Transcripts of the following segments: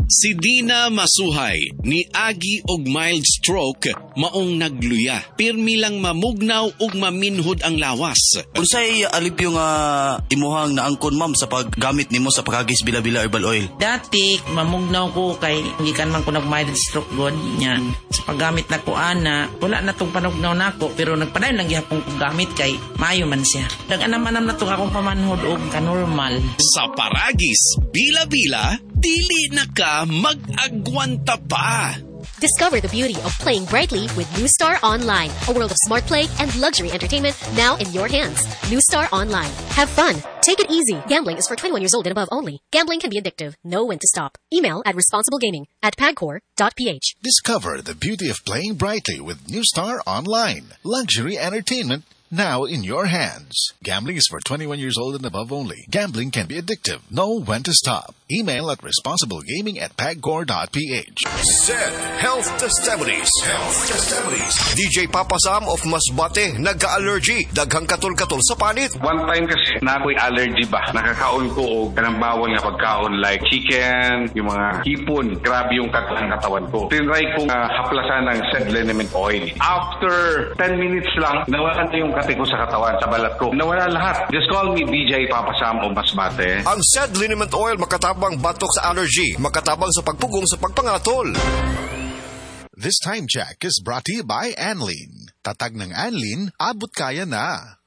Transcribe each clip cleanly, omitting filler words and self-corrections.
Si Dina Masuhay ni agi og mild stroke maong nagluya. Pirmi lang mamugnaw ug maminhod ang lawas. Unsay alipyo nga imuhang naangkon, ma'am, sa paggamit nimo sa Paragis Bila-Bila Herbal Oil? Dati mamugnaw ko kay gikan man ko nag mild stroke god nya. Sa paggamit na ko ana, wala na tong panugnaw nako pero nagpadayon lang gihapon ko gamit kay maayo man siya. Nag-anam-anam na tong akong pamanhod og kanormal. Sa Paragis Bila-Bila, dili na ka mag-agwanta pa. Discover the beauty of playing brightly with New Star Online, a world of smart play and luxury entertainment now in your hands. New Star Online. Have fun. Take it easy. Gambling is for 21 years old and above only. Gambling can be addictive. Know when to stop. Email at responsiblegaming@pagcor.ph. Discover the beauty of playing brightly with New Star Online. Luxury entertainment now in your hands. Gambling is for 21 years old and above only. Gambling can be addictive. Know when to stop. Email at responsiblegaming@pagcor.ph. Said Health Testimonies. Health Testimonies. DJ Papa Sam of Masbate, nagka-allergy. Daghang katol-katol sa panit. One time kasi, na ako'y allergy ba? Nakakaon ko og kanang bawal nga pagkaon like chicken, yung mga hipon. Grabe yung katawan ng katawan ko. Tinry kong haplasan ng said liniment oil. After 10 minutes lang, nawala na yung kate ko sa katawan, sa balat ko. Nawala lahat. Just call me DJ Papa Sam of Masbate. Ang said liniment oil makatabang batok sa allergy, makatabang sa pagpugong sa pagpangatol. This time check is brought to you by Anlene. Tatag ng Anlene, abot kaya na.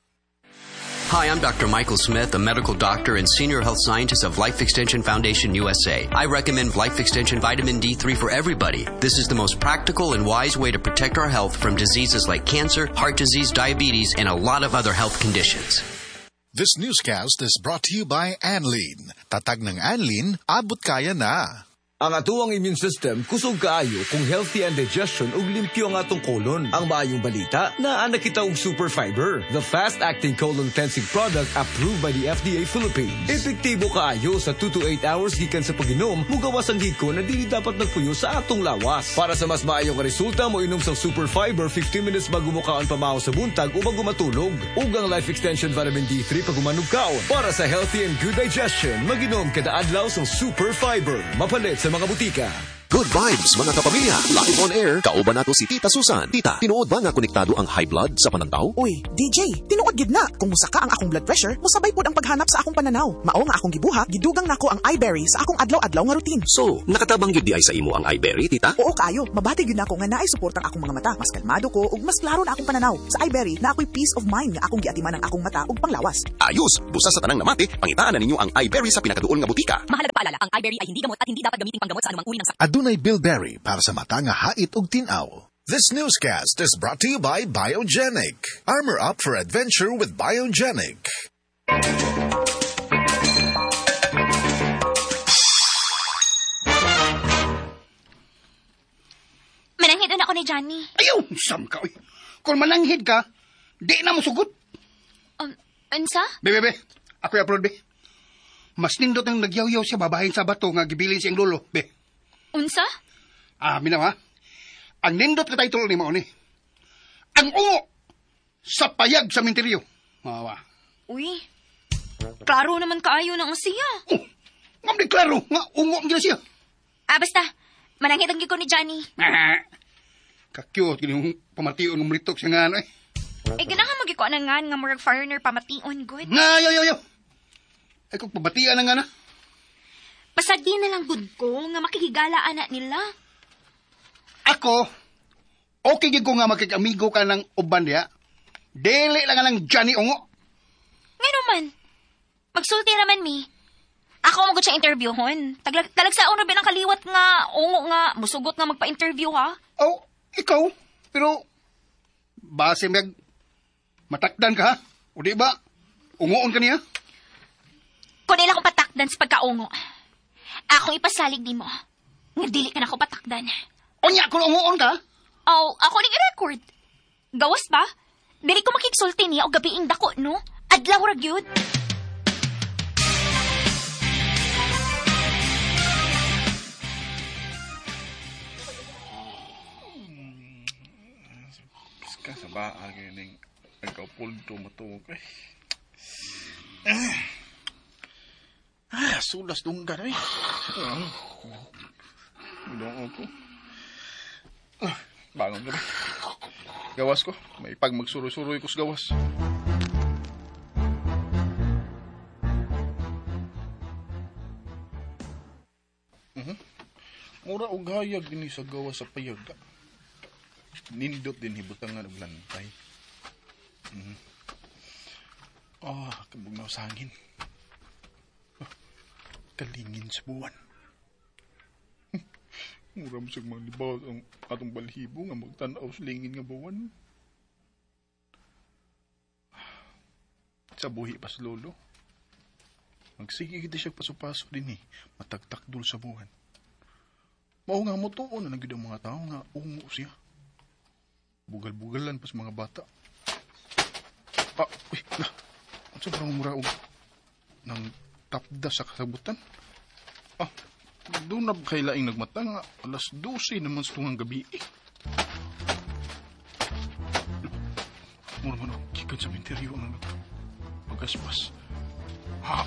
Hi, I'm Dr. Michael Smith, a medical doctor and senior health scientist of Life Extension Foundation USA. I recommend Life Extension Vitamin D3 for everybody. This is the most practical and wise way to protect our health from diseases like cancer, heart disease, diabetes, and a lot of other health conditions. This newscast is brought to you by Anlene. Tatag ng Anlene, abot kaya na. Ang atuang immune system kusog kaayo kung healthy ang digestion ug limpyo ang atong colon. Ang maayong balita, naa na kita og Super Fiber, the fast-acting colon cleansing product approved by the FDA Philippines. Epektibo kaayo sa 2 to 8 hours gikan sa pag-inom, mugawas ang hikon na dili dapat nagpuyo sa atong lawas. Para sa mas maayong resulta, mo inom sa Super Fiber 15 minutes bago mo kaon pamaho sa buntag o bago matulog. Ug ang Life Extension Vitamin D3 pag umanog kaon. Para sa healthy and good digestion, mag-inom kada adlaw sa Super Fiber. Mapalit sa mga butika. Good vibes, mga kapamilya. Live on air, kauban nato si Tita Susan. Tita, tinuod ba nga konektado ang high blood sa panantaw? Uy, DJ, tinuod gid na. Kung musaka ang akong blood pressure, musabay pod ang paghanap sa akong pananaw. Mao nga akong gibuhat, gidugang nako ang iBerry sa akong adlaw-adlaw nga routine. So, nakatabang gyud di ay sa imo ang iBerry, Tita? Oo kaayo, mabati gyud nako nga naay suportang akong mga mata. Mas kalmado ko ug mas klaro na akong pananaw. Sa iBerry, na ako'y peace of mind nga akong giatiman ang akong mata ug panglawas. Ayos, busa sa tanang namati, pangitaan na ninyo ang iBerry sa pinakaduol nga butika. Mahalaga paalala, ang iBerry ay hindi gamot at hindi dapat gamitin panggamot sa anumang uri ng sakit. Adunay bilberry para sa mata nga hait ug tin-aw. This newscast is brought to you by Biogenic. Armor up for adventure with Biogenic. Mananghid na ako ni Johnny. Ayaw, sam ka. Uy. Kung mananghid ka, di na mo sugot. Unsa? Be, be, be. Ako'y upload, be. Mas nindot ang nagyaw-yaw siya babahin sa bato nga gibilin siyang lolo, be. Unsa? Ah, minaw ha? Ang nindot ka title ni mao ni. Ang ungo sa payag sa minteryo. Mawa. Uy, klaro naman kaayo na ang siya. Oh, ngam di klaro nga ungo ang gina siya. Ah, basta. Mananghid ang ko ni Johnny. Ah, ka-cute gini yung pamation ng mlitok siya nga ano eh. Eh, ganahan magikuan na nga nga murag foreigner pamation, good. Nga, yo, yo, yo. Ay, kung pabatian na nga na. Pasadi na lang good ko nga makikigala anak nila. Ako, okay gid ko nga makikamigo ka ng uban diya. Dili lang nga ng Johnny Ungo. Nga naman, magsulti raman mi. Ako magod siya interviewhon. Talag sa uno binang kaliwat nga, ungo nga, musugot nga magpa-interview ha. Oh, ikaw, pero base mag matakdan ka ha? O di ba, ungoon ka niya? Kung nila akong patakdan sa pagkaungo, akong ipasalig ni mo. Nga dili ka na ako patakdan. Unya, kung ungoon ka? Oh, ako ning i-record. Gawas ba? Dili ko makiksulti niya o gabiing dako, no? Adlaw ra gyud. Ka sa baa kining nagkapulto matuog ay. Ah, sulas dunggan ay. Ginoo ko. Bangon ka ba? Gawas ko. May pag magsuroy-suroy ko sa gawas. Mura og hayag dinhi sa gawas sa payag. Nindot din hibutangan og lantay. Kabugnaw sa hangin. Kalingin sa buwan. Mura mo siyang manglibaw ang atong balhibo nga magtanaw sa lingin nga buwan. Sa buhi pa sa lolo. Magsige kita siya paso-paso din eh. Matagtakdol sa buwan. Mao nga mo tuon na nagyud ang mga tao nga ungo siya. Bugal-bugalan pa sa mga bata. Uy, na. Ang sobrang mura og ng tapda sa kasabutan. Doon na kay laing nagmata nga 12:00 naman sa tungang gabi eh. Mura man og gikan sa menteryo ang pagaspas. Ha,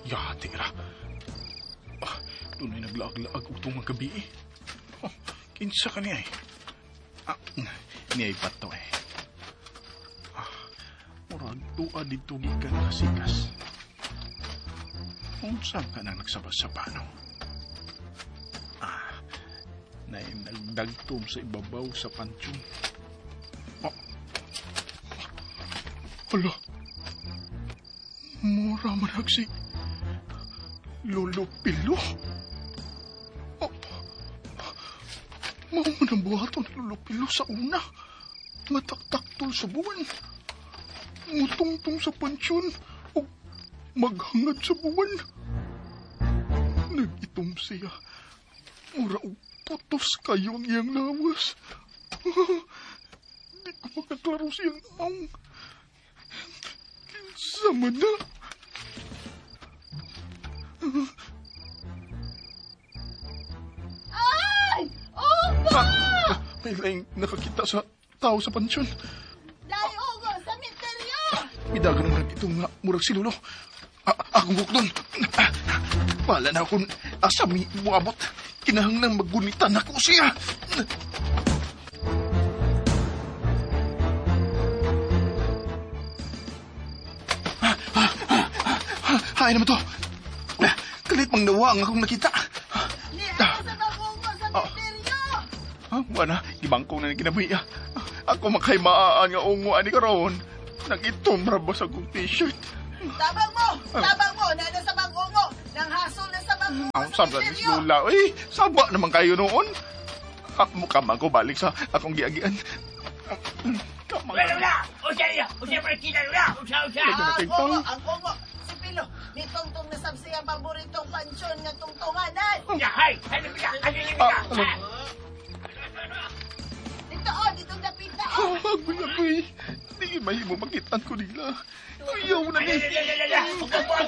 yati ra. Doon ay naglaag-laag og tungang gabi eh. Kinsa ka niya eh. Niya ay bato eh. Murag tuwa dito gikan kasikas. Unsa ka nang nagsabas-saba no? Na nagdagtom sa ibabaw sa pansyon. Hala. Mura man si Lolo Pilo. Mao man ang buhaton ni Lolo Pilo sa una. Mataktaktol sa buwan. Mutungtong sa pansyon o maghangad sa buwan. Nag-itom siya. Mura og putos kayo ang iyang lawas. Di ko makaklaro siyang naong. Kinsa man na. Ay! Ungo! May laing nakakita sa tao sa pansyon. Dahil ungo sa misteryo! Midagan ang nagitong nga murag si Lolo. Akong bukdon. Bahala na akong asa mi muabot. Kinahanglang maggunitan ako siya. Hay naman to. Kalit mang nawa ang akong nakita. Niya sa ungo sa misteryo! Wala, gibangkong na kinabuhi. Ako makay maaan nga ungo ani karon. Nagitom ra ba sa akong t-shirt? Tabang mo! Tabang mo! Nana sa bang ungo! Nang hasol na sa bang ungo Ang sa sabla ni misteryo! Lola. Uy, saba naman kayo noon. Mukha man ko balik sa akong giagian. Kamang. Lola! Usa! Usa partida, Lola! Usa, usa! Ang ungo! Ang ungo! Si Pilo! Nitungtong na sab siya paboritong pansyon nga tungtunganan! Hay! Hay! Hay! Dito oh! Dito dapita oh! Agoy, agoy. Di mahimo makitaan ko nila. Ayaw na ni.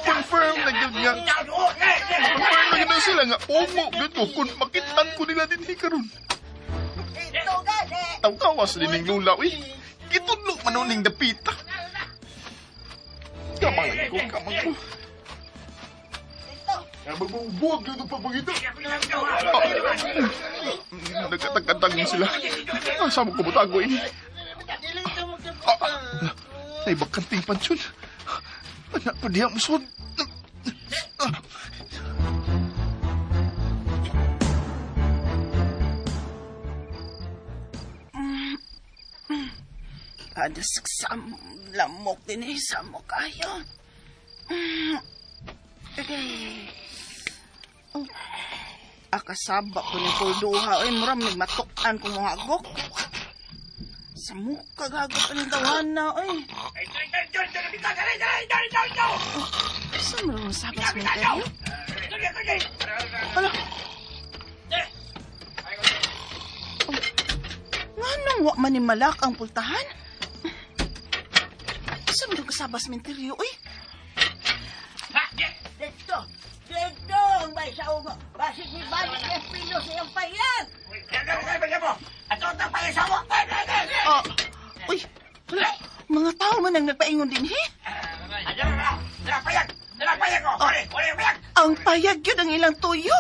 Confirm na gyud nga. Confirm na gyud sila nga ungo gyud ko kung makitaan ko nila dinhi karon. Ito gani! Taw-tawas din ning lula uy. Gitudlo man ning dapita. Kamang ko, kamang ko. Magbubuwag yun ang pagpagita. Nagkatagkatag sila. Sama ko mutago eh. Ay, bakanting pansyon. Anak pa diya musod. Adas sa lamok din eh, samok ayo. Okay. Oh. Akasaba ko ni Kulduha. Ay, muram nagmatukan kong muhagok. Sa mukha gagok ang tawana, ay. Saan mo naman sabas mo tayo? Hala. Oh. Nga nung wa man ni malak ang pultahan? Saan mo naman kasabas menteryo, ay? Dito! Dito! Ang may sa ungo! Basig ni Balik Espino sa iyong payag! Uy, wala. Mga tao man ang nagpaingon din, he? Ang payag yun ang ilang tuyo.